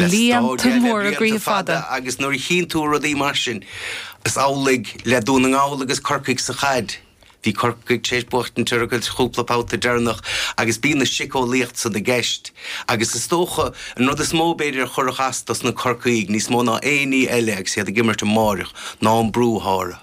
Blianta móra blianta fada agus nuair a chíonn tú rudaí mar sin, is amhlaidh le Dún na nGall agus Corcaigh sa chaid. Bhí Corcaigh tar éis buachtaint orthu sa chúpla babhta deireanach agus bíonn an siceolaíocht san i gceist agus is dócha an rud is mó b'fhéidir a chuirfeadh as dos na Corcaígh níos mó ná aon ní eile agus iad ag imirt amáireach ná an brú atá orthu.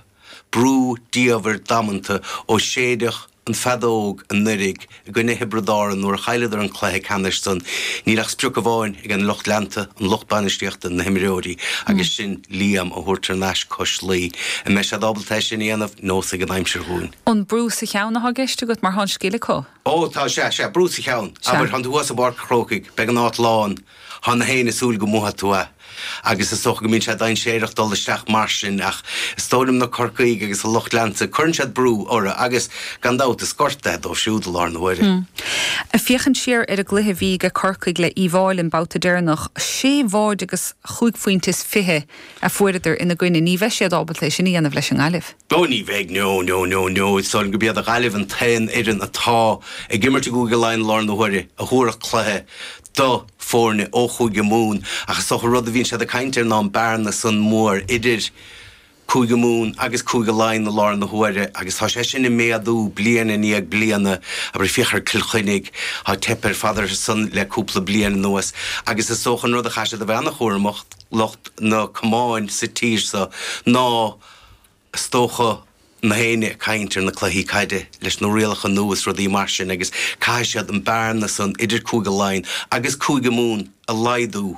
Brú diamhair damanta ó séideadh an feadóg anuiridh i gcoinne Thiobraid Árann nuair a chailleadar an cluiche ceannais san. Níl ach sprioc amháin ag an lucht leanta, an lucht bainistíochta, na himreoirí agus sin Liam a thabhairt thar n-ais cois Laoi. An mbeidh siad ábalta é sin a dhéanamh? Neosfaidh an aimsir dhúinn. An brú sa cheann atá i gceist agat mar tá an scil acu? Ó tá, sea, sea, brú sa cheann. Abair, tánn tú thuas i bPáirc an Chrócaigh, beidh an áit lán, Tá na héinne ag súil go mbuafaidh tú é agus is dócha go mbíonn sé dainséarach dul isteach mar sin ach is dóigh liom na Corcaígh agus a lucht leanta, cuireann siad brú orthu agus gan dabht is gorta é dóibh siúd i láthair na huaire. Ag féachaint siar ar an gcluiche a bhí ag Corcaigh le Uíbh Fháilí an babhta deireanach, sé bháide agus chúig phointe is fiche a fuaireadar ina gcoinne, ní bheidh siad ábalta é sin a dhéanamh leis an nGaillimh. Ó ní bheidh, no, no, no, no. Is dóigh liom gurb iad an Ghaillimh an t-aon fhoireann atá ag imirt i gCúige Laighean i láthair na huaire a thabharfadh cluiche do foirne ó Chúige Mumhan ach is dócha an rud a bhíonn siad ag caint air ná an bearna san mór idir Cúige Mumhan agus Cúige Laighean i láthair na huaire agus tá sé sin ag méadú bliain i ndiaidh bliana. Abair féach ar Cill Chainnigh, tá teipthe ar fad orthu san le cúpla bliain anuas agus is dócha an rud a chaithfidh siad a bheith an-chúramach, lucht na camáin sa tír so, ná is dócha, na héinne ag caint ar na cluichí caide leis na rialacha nua is rudaí mar sin agus caithfidh siad an bearna san idir Cúige Laighean agus Cúige Mumhan a laghdú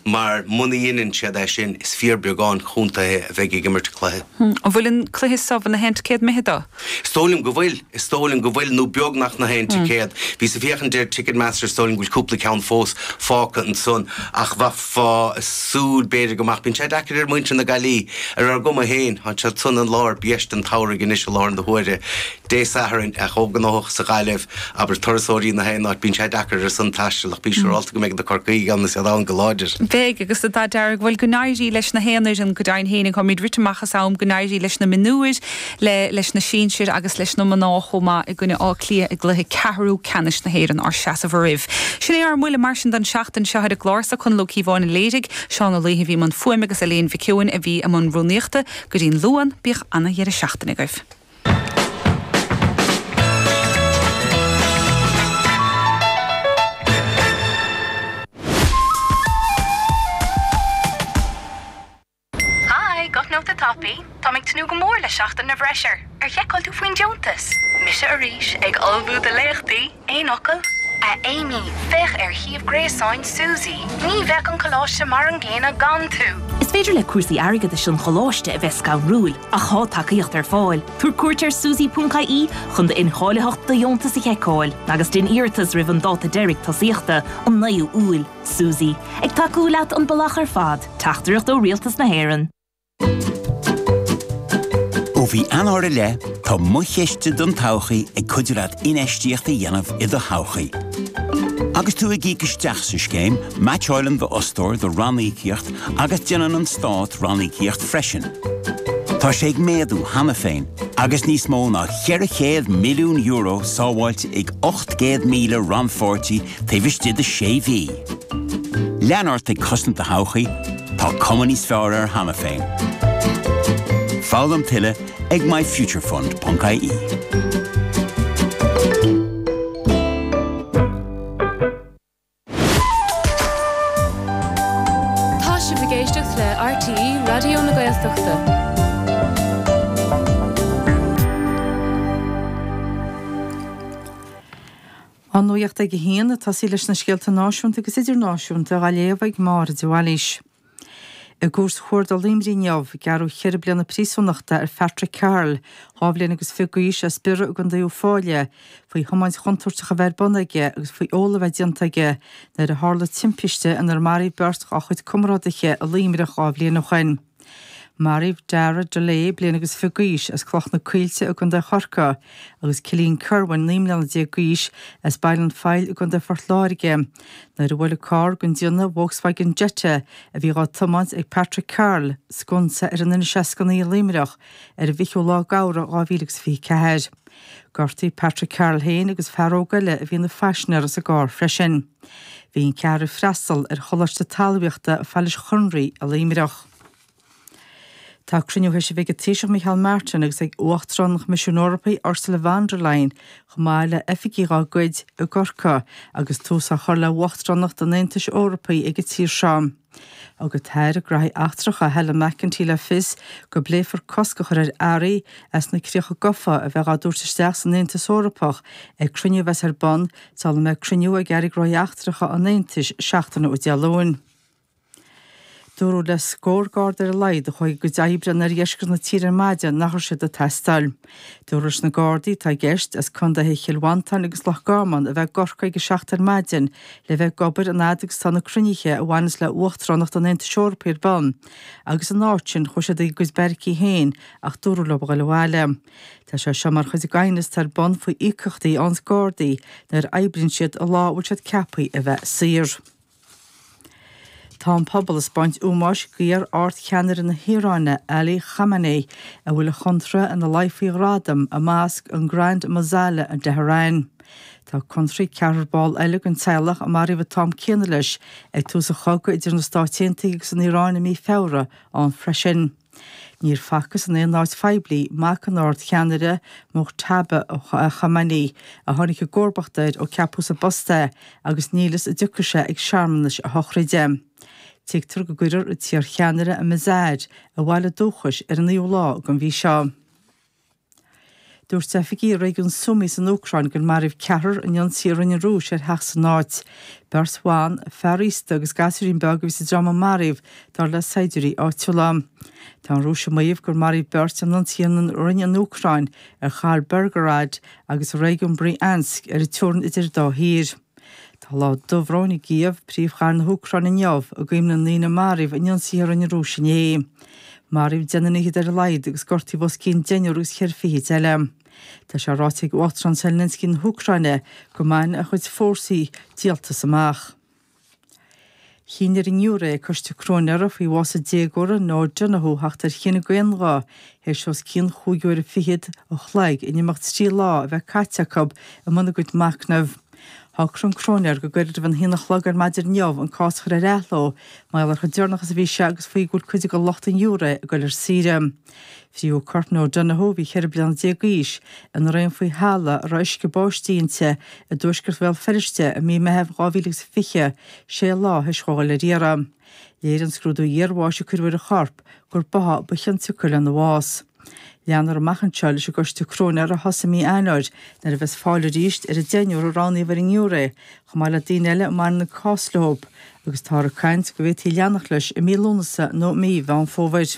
mar muna dheineann siad é sin is fíorbheagán contaetha a bheidh ag imirt cluiche. An bhfuil an cluiche so ina haon ticéad mithid dó? Is dóigh liom go bhfuil. Is dóigh liom go bhfuil, nó beagnach na haon ticéad. Bhíos ag féachaint ar Ticketmaster, is dóigh liom go bhfuil cúpla ceann fós fágtha ansan, ach bheifeá ag súil, b'fhéidir, go mbeadh. Bíonn sé deacair ar mhuintir na Gaillimhe, ar ár gcuma féin, tá siad san i lár biaiste an tsamhraidh anois i láthair na huaire. Dé Sathairn, é chomh gnóthach sa Ghaillimh, abair turasóirí na haon áit, bíonn sé deacair ar son taisteal ach bí siúrálta go mbeidh na Corcaígh ann is iad ann go láidir. Beidh, agus an dath dearg, bhuel, go n-éirí leis na haon fhoireann go deimhin féin, táimid rite amach as am, go n-éirí leis na mionúir, le leis na sinsir agus leis na mná chomh maith i gcoinne Átha Cliath i gcluiche ceathrú ceannais na hÉireann ár seasamh oraibh. Sin é ár mbuille mar sin don seachtain seo ar an gclár so Conall Ó Cíobháin a léirigh, Seán Ó Laoithe a bhí i mbun fuaime agus Elaine Mhic Eoin a bhí i mbun rúnaíochta. Go dtí'n Luan, bíodh ana-dheireadh seachtaine agaibh. Hi, Guth Nóta Tapaidh. Táim ag tnúth go mór le Seachtain na bhFreisear. Ar sheiceáil tú faoin deontas? Mise arís, ag ullmhú do léachtaí. Aon fhocal? A Amy, féach ar shuíomh gréasáin Suzy. Ní bheadh an coláiste mar an gcéanna gan tú! Is féidir le cúrsaí airgeadais an choláiste a bheith scanrúil, ach tá tacaíocht ar fáil. Tabhair cuairt ar suzy.ie chun d'incháilitheacht do dheontas a sheiceáil, agus déan iarratas roimh an dáta deiridh tosaíochta, an 9ú Iúil. Suzy, ag tacú leat an bealach ar fad, teachtaireacht ó Rialtas na hÉireann. Ó mhí Eanáir i leith, tá Mo Chiste don Todhchaí ag cuidiú leat infheistíocht a dhéanamh i do thodhchaí. Agus tú ag íoc isteach sa scéim, meaitseáileann d'fhostóir do ranníocaíocht agus déanann an Stát ranníocaíocht freisin. Tá sé ag méadú cheana féin agus níos mó ná €400 milliún sábháilte ag 800,000 rannpháirtí taobh istigh de sé mhí. Lean ort ag cosaint do thodhchaí, tá cuma níos fearr air cheana féin. Foghlaim tuilleadh ag myfuturefund.ie. Tá sibh ag éisteacht le RTÉ Raidió na Gaeltachta. An nuacht ag a haon, ag tosaí leis na scéalta náisiúnta agus idirnáisiúnta á léamh ag Máire de Bhailís. I gCúirt Chuarda Luimnigh inniu, gearradh cheithre bliana príosúnachta ar Phatrick Carroll, 22 bhliain agus d'aois as Biorra i gContae Uíbh Fhailí, faoi thiomáint chontúirteach a bheith ar bun aige agus faoi ól a bheith déanta aige nuair a tharla timpiste inar maraíodh beirt dá chuid comrádaithe i Luimneach 2 bhliain ó shin. Maraíodh Dara Delay, bliain agus fiche d'aois, as Cloich na Coillte i gContae Chorcaí, agus Cillian Kirwan, 19 mbliana d'aois, as Baile an Phoill i gContae Phort Láirge, nuair a bhuail carr den déanamh Volkswagen Jetta a bhí dhá tiomáint ag Patrick Carroll sconsa ar an N69 i Luimneach ar an bhfichiú lá d'Fheabhra 2024. Gortaíodh Patrick Carroll féin agus fear óg eile a bhí ina phaisinéir sa gcarr freisin. Bhí an ceathrar ag freastal ar Choláiste Talmhaíochta Phailís Chonraí i Luimneach. Tá cruinniú théis a bheith ag an Taoiseach Micheál Martin agus ag Uachtarán an Choimisiúin Eorpaigh Ursula von der Leyen chomh maith le oifigigh dá gcuid i gCorcaigh agus tús á chur le hUachtaránacht an Aontais Eorpaigh ag an tír seo. Thug an tAire Gnóthaí Eachtracha Helen McEntee le fios go bpléifear cosc a chur ar earraí as na críocha gofa a bheith á dtabhairt isteach san Aontas Eorpach ag cruinniú a bheas ar bun sula mbeidh cruinniú ag Airí Gnóthaí Eachtracha an Aontais seachtain ó Dé Luain. Dúradh le scór garda ar a laghad a chuaigh a gcuid oibre in oirdheisceart na tíre ar maidin nach raibh siad ag teastáil. Dúradh leis na gardaí atá i gceist, as contaetha Chill Mhantáin agus Loch Garman, a bheith i gCorcaigh ag a 7 ar maidin le bheith ag obair an fhad agus atá na cruinnithe a bhaineas le hUachtaránacht an Aontais Eorpaigh ar bun, agus ina áit sin chuaigh siad ag a gcuid beairicí féin ach dúradh leo a dhul abhaile. Tá sé seo mar chuid den aighneas atá ar bun faoi íocaíochtaí a fhaigheanns gardaí nuair a oibríonn siad an lá a bhfuil siad ceaptha a bheith saor. Tá an pobal ag 'spáint ómóis d'iar-ardcheannaire na hIaráine, Ali Khamenei, a bhfuil a chontraithe ina luí faoi ghradam i mosc an Grand Mosala in Tehran. Tá contraí ceathrar ball eile den teaghlach a maraíodh an t-am céanna leis ag tús an chogaidh idir na Stáit Aontaithe agus an Iaráin i mí Feabhra ann freisin. Níor facthas in aon áit phoiblí mac an ardcheannaire, Mojtaba Khamenei, a tháinig i gcomharbacht air ó ceapadh sa bpost é agus níl fhios an dtiocfaidh sé ag searmanais a shochraide. Tuigtear go gcuirfear an t-iarcheannaire i Mazar, a bhaile dúchais, ar an naoú lá den mhí seo. Dúirt oifigigh i réigiún Sumy san Úcráin gur maraíodh ceathrar in ionsaí a rinne an Rúis ar theach san áit. Beirt bhan, fear aosta agus gasúirín beag a bhí sa dream a maraíodh, dar le saighdiúirí áitiúla. Tá an Rúis ag maíomh gur maraíodh beirt in ionsaí a rinne an Úcráin ar chathair Belgorod agus i réigiún Bryansk ar an teorainn idir an dá thír. Tá lá dubhróin i gCív, príomhchathair na hÚcráine inniu, i gcuimhne na ndaoine a maraíodh in ionsaithe a rinne an Rúis inné. Maraíodh deichniúr fhichead ar a laghad agus gortaíodh os cionn deichniúr agus cheithre fichid eile. Tá sé ráite ag Uachtarán Zelensky na hÚcráine go mbainfidh a chuid fórsaí díoltas amach. Chinn ar an ngiúiré ag Coiste Cróinéara faoi bhás an déagóra Noah Donohoe theacht ar chinneadh d'aon ghuth théis os cionn chúig uaire fichead an chloig in imeacht trí lá a bheith caite acu i mbun a gcuid machnaimh. Shocraigh an cróinéir go gairid roimh an haon a chlog ar maidin inniu an cás a chur ar athló mar gheall ar chomh deireanach is a bhí sé agus faoi go bhfuil cuid de lucht an ghiúiré ag dul ar saoire. Fríothadh corp Noah Donohoe, a bhí 14 bliana d'aois, ina raon faoi halla a raibh uisce báistí inti i dtuaisceart Bhéal Feirste i mí Meithimh 2020, sé lá théis dhó dhul ar iarraidh. Léirigh an scrúdú iarbháis a cuireadh ar a chorp gur báthadh ba chionsiocair lena bhás. Leanfar amach anseo leis an gcoiste cróinéara a thosaigh i mí Eanáir nuair a bheas fáil arís ar an deichniúr a roghnaíodh ar an ngiúiré, chomh maith le daoine eile a mbaineann an cás leo, agus táthar ag caint go bhféadfaí leanacht leis i mí Lúnasa nó i mí Mheán Fómhair.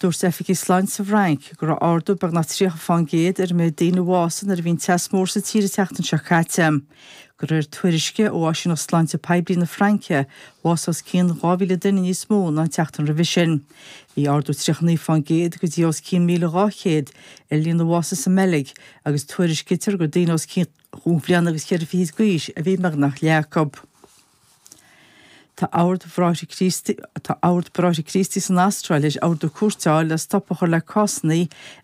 Dúirt oifigigh sláinte sa bhFrainc go raibh ardú beagnach 30% ar an méid daoine a bhásaigh nuair a bhí an teas mór sa tír an tseachtain seo caite. De réir tuairisce ó Áisíneacht Sláinte Poiblí na Fraince, bhásaigh os cionn 2,000 duine níos mó ná an tseachtain roimhe sin. Bhí ardú 39% go dtí os cionn 1,200 ar líon na bhásuithe sa mBeilg agus tuairiscítear gur daoine os cionn chúig bhliana agus cheithre fichid d'aois a bhí i mbeagnach leath acu. Tá Ord Bhráithre Críostaí Tá Ord Bráithre Críostaí san Astráil théis ordú cúirte a fháil le stop a chur le cásanna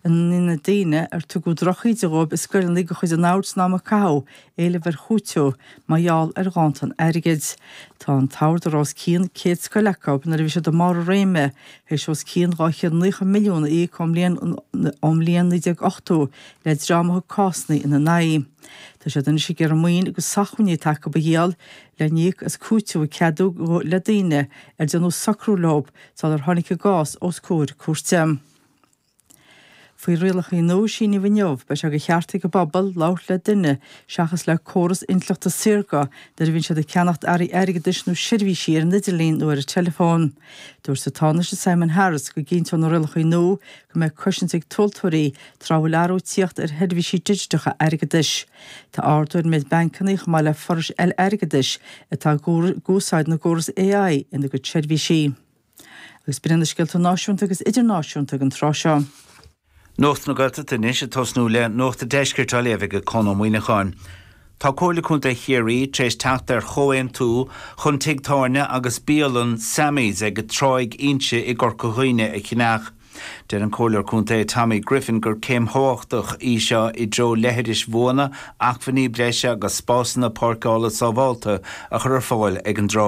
ina ndéanfaidh daoine ar tugadh drochíde dhóibh i scoileanna de chuid an oird san am a caitheadh éileamh ar chúiteamh mar gheall ar ghanntan airgid. Tá an t-ord a raibh os cionn 100 scoil acu nuair a bhí siad i mbarr a réime théis os cionn 290 milliún a íoc ón mbliain ón mbliain 1980 le dream a thug cásanna ina n-aghaidh. Tá siad anois ag iarraidh maoin agus sócmhainní atá acu a dhíol le n-íoc as cúiteamh a ceadaíodh le daoine ar déanadh socrú leo sular tháinig a gcás os comhair cúirte. Faoi rialacha nua a síníodh inniu, beidh sé de cheart ag an bpobal labhairt le duine seachas le córas intleachta saorga nuair a bhíonn siad ag ceannacht earraí airgeadais nó seirbhísí ar an idirlíon nó ar an teileafón. Dúirt an Tánaiste Simon Harris go gcinnteoidh na rialacha nua go mbeidh cosaint ag tomhaltóirí tráth a bhfuil athrú ag tíocht ar sheirbhísí digiteacha airgeadais. Tá ardú ar an méid bancanna chomh maith le forais eile airgeadais atá ag úsáid na gcóras AI ina gcuid seirbhísí. Agus b'in iad na scéalta náisiúnta agus idirnáisiúnta ag an tráth seo. Nuacht na Gaeltachta anois ag tosnú le Nuacht an Deiscirt á léamh ag Conn Ó Muíneacháin. Tá Comhairle Contae Chiarraí tar éis teacht ar chomhaontú chun tigh tábhairne agus bialann Sammy's ag Tráigh Inse i gCorca Dhuibhne a cheannach. Deir an Comhairleoir Contae Tommy Griffin gur céim thábhachtach í seo i dtreo leithris bhuana, acmhainní breise agus spásanna páirceála sábhálta a chur ar fáil ag an dtráigh.